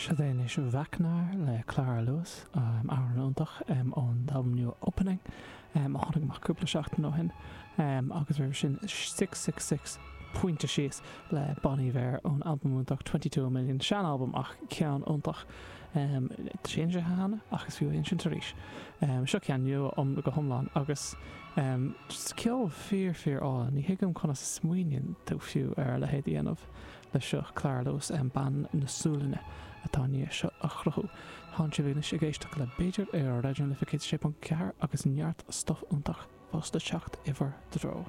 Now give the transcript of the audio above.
Siod é anois Vecna le Clara Lewis, amhrán iontach ón albam nua Opening a tháinig amach cúpla seachtain ó shin, agus roimhe sin 666 Pointe Síos le Bon Iver ón albam iontach 22 Million, sean-albam ach ceann iontach. Tá sé insithe cheana ach is fiú a insint arís. Seo ceann nua go hiomlán agus just ceol fíor fíor álainn. Ní thuigim conas a smaoiníonn tú fiú ar a leithéid a dhéanamh. Leis seo, Clara Lewis, bean na Sualainne atá i ndiaidh seo a chruthú. Tánn sibh anois ag éisteacht le B'fhéidir ar Raidió na Life 106.4 agus neart stuif iontach fós le teacht i bhur dtreo.